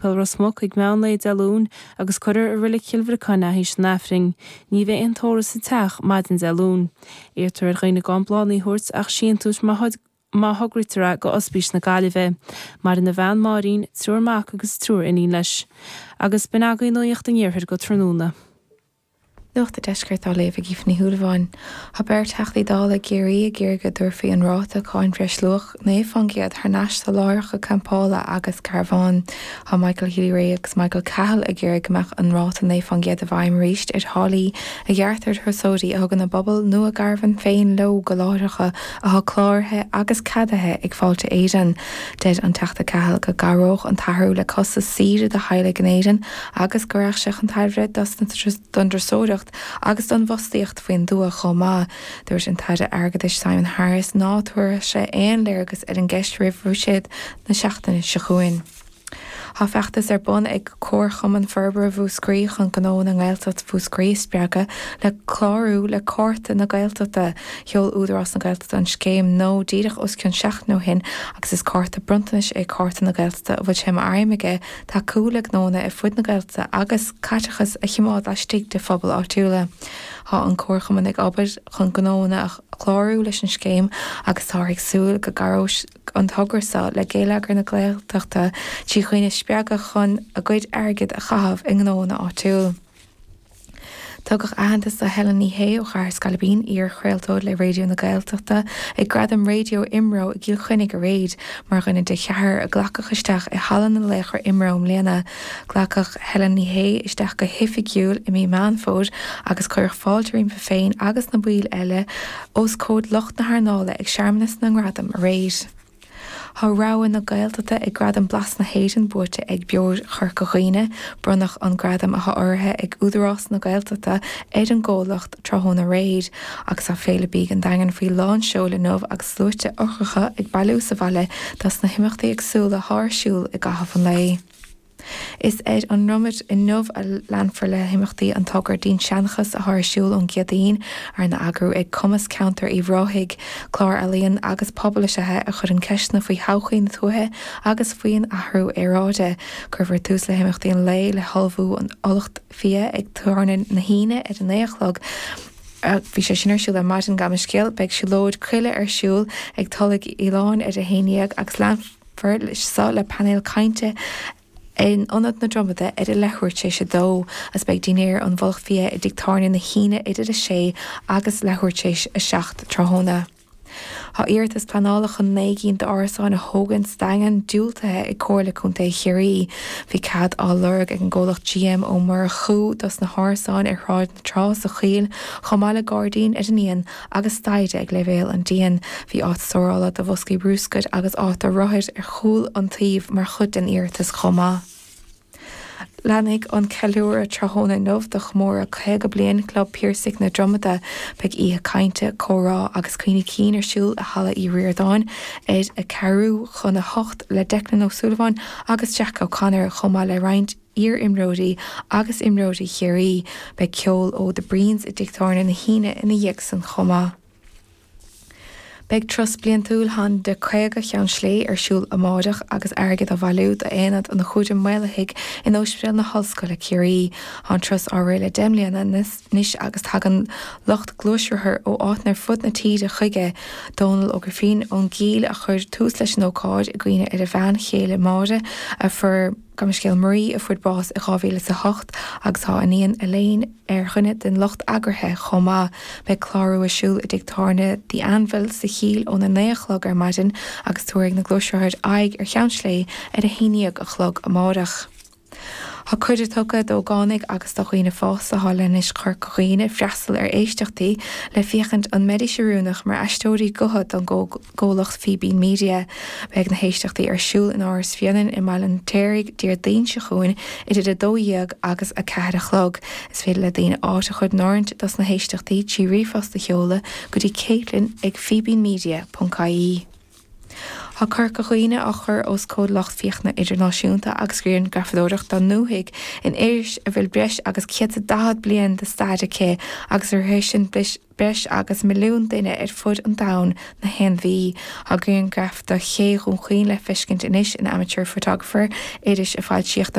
Séipéal Ros Muc ag meán lae Dé Luain agus cuirfear i Reilig Chill Bhriocáin é théis an Aifrinn. Ní bheidh aon tórramh sa teach maidin Dé Luain. Iarrtar ar dhaoine gan bláthanna a thabhairt ach síntiúis má má thograítear é go Ospís na Gaillimhe. Maireann a bhean Máirín, triúr mac agus triúr iníon leis. Agus b'in agaibh Nuacht an Iarthair go tráthnóna. Nuacht an Deiscirt á léamh ag Aoife Ní Shúilleabháin. Tá beirt Theachtaí Dála i gCiarraí ag iarraidh go dtabharfaí an ráta cáin bhreisluach 9% thar n-ais do láithreacha campála agus carbhán. Tá Michael Healy-Rae agus Michael Cahill ag iarraidh go mbeadh an ráta 9% i bhfeidhm arís ar tháillí a ghearrtar ar thurasóirí a thugann a bpuball nó a gcarbhán féin leo go láithreacha atá cláraithe agus ceadaithe ag Fáilte Éireann. Deir an Teachta Cahill go gcabhródh an t-athrú le costas saoire do theaghlaigh in Éirinn agus go rachadh sé chun tairbhe don dturasóireacht agus don bhfostaíocht faoin dtuath chomh maith. Dúirt an tAire Airgeadais Simon Harris ná tabharfadh sé aon léargas ar an gceist roimh Bhuiséad na seachtaine seo chugainn. Tá feachtas ar bun ag Comharchumann Forbartha Mhúscraí chun gnónna i nGaeltacht Mhúscraí a spreagadh le clárú le Cárta na Gaeltachta. Sheol Údarás na Gaeltachta an scéim nua díreach os cionn seachtain ó shin agus is cárta bronntanais é Cárta na Gaeltachta a bhfuil sé mar aidhm aige tacú le gnónna ar fud na Gaeltachta agus caiteachas a choimeád laistigh de phobail áitiúla. Tá an Comharchumann ag obair chun gnónna a chlárú leis an scéim agus táthar ag súil go gcabhróidh an togra seo le geilleagar na Gaeltachta trí dhaoine a spreagadh chun a gcuid airgid a chaitheamh i ngnónna áitiúil. Tugadh aitheantas do Helen Ní Shé ó Chathair Scailpín, iar-chraoltóir le Raidió na Gaeltachta, ag Gradaim Raidió IMRO i gCill Chainnigh aréir, mar dhuine de cheathrar a glacadh isteach i Halla na Laochra IMRO i mbliana. Glacadh Helen Ní Shé isteach go hoifigiúil i mí Meán Fómhair agus cuireadh fáilte roimpi féin agus na baill eile os comhair lucht na hearnála ag searmanas na ngradam aréir. Tá rogha na Gaeltachta ag Gradaim Blas na hÉireann buaite ag Beoir Chorca Dhuibhne. Bronnadh an gradam atá urraithe ag Údarás na Gaeltachta ar an gcomhlacht tráthnóna aréir. Agus tá Féile Bídh an Daingin faoi lán seoil inniu agus sluaite ocracha ag bailiú sa bhaile dos na himeachtaí éagsúla atá ar siúl i gcaitheamh an lae. Is ar an nDromad inniu a leanfar le himeachtaí an togra Dinnseanchas atá ar siúl ón gCéadaoin, arna eagrú ag Cumas Ceantair Uíbh Ráthaigh. Clár ealaíon agus pobail is ea é a chuireann ceisteanna faoi thodhchaí na tuaithe agus faoin athrú aeráide. Cuirfear tús le himeachtaí an lae le hullmhú an fhulacht fia ag Tábhairne na hAoine ar a 9 a chlog. Bhí sé sin ar siúl ar maidin, gabh mo leithscéal. Beidh siúlóid coille ar siúl ag Tulaigh Fhaoláin ar a 11 agus leanfar leis seo le painéal cainte in Ionad na Dromada ar a leathuair tar éis a dó, agus beidh dinnéar an mhullach fia i dTigh Tábhairne na hAoine idir a sé agus leathuair tar éis a 7 tráthnóna. Tá iarratas pleanála chun 9 gcinn d'árasáin a thógaint sa Daingean diúltaithe ag Comhairle Contae Chiarraí. Bhí cead á lorg ag an gcomhlacht GM Ó Murchú dos na hárasáin ar Shráid na Trá sa Choill chomh maith le gairdín ar an ndíon agus staighre ag leibhéal an díon. Bhí áit stórála do bhoscaí brúscair agus áit do rothair ar chúl an tsuímh mar chuid den iarratas chomh maith. Leanfaidh an ceiliúradh tráthnóna inniu do chomóradh 50 bliain Chlub Piarsaigh na Dromada. Beidh oíche cainte, comhrá agus cuimhní cinn ar siúl i Halla Uí Ríordáin ar a ceathrú chun a hocht le Declan Ó Súilleabháin agus Jack O'Connor chomh maith le roinnt iar-imreoirí agus imreoirí Chiarraí. Beidh ceol ó The Breens i dTigh Tábhairne na hAoine ina dhiaidh san chomh maith. Beidh turas bliantúil Honda 50 Cheann Slé ar siúl amáireach agus airgead á bhailiú d'Aonad an Chúraim Mhaolaithigh in Ospidéal na hOllscoile Ciarraí. Tá an turas á rith le 10 mbliana anois agus tagann lucht gluaisrothar ó áiteanna ar fud na tíre chuige. Dónal Ó Grifín ón gCill a chuir tús leis an ócáid i gcuimhne ar a bhean chéile Máire a fuair Gabh mo leithscéal Marie a fuair bás i 2008 agus tá a iníon Elaine ar dhuine den lucht eagraithe chomh maith. Beidh clárú ar siúl i dtigh tábhairne The Anvil sa Chill óna 9 a chlog ar maidin agus tabharfaidh na gluaisrothair aghaidh ar Cheann Slé ar a 11 a chlog amárach. Tá cuireadh tugtha d'ógánaigh agus do dhaoine fásta atá i Leithinis Chorca Dhuibhne freastal ar éisteachtaí le féachaint an mbeidís oiriúnach mar aisteoirí gutha don gcomhlacht Fíbín Media. Beidh na héisteachtaí ar siúl in Áras Bhréanainn i mBaile an Fheirtéaraigh Déardaoin seo chugainn idir 12 agus 4 a chlog. Is féidir le daoine áit a chur in áirithint dos na héisteachtaí trí ríomhphost a sheoladh go dtí Caitlin ag fíbínmedia.ie. Tá Corca Dhuibhne á chur os comhair lucht féachana idirnáisiúnta agus grianghrafadóireacht dá ndúthaigh in iris a bhfuil breis agus 140 bliain de stair aici agus a shroicheann breis agus milliún duine ar fud an domhain na haon mhí. Tá grianghraif de Ché Dhún Chaoin le feiscint anois in Amateur Photographer, iris a foilsíodh do.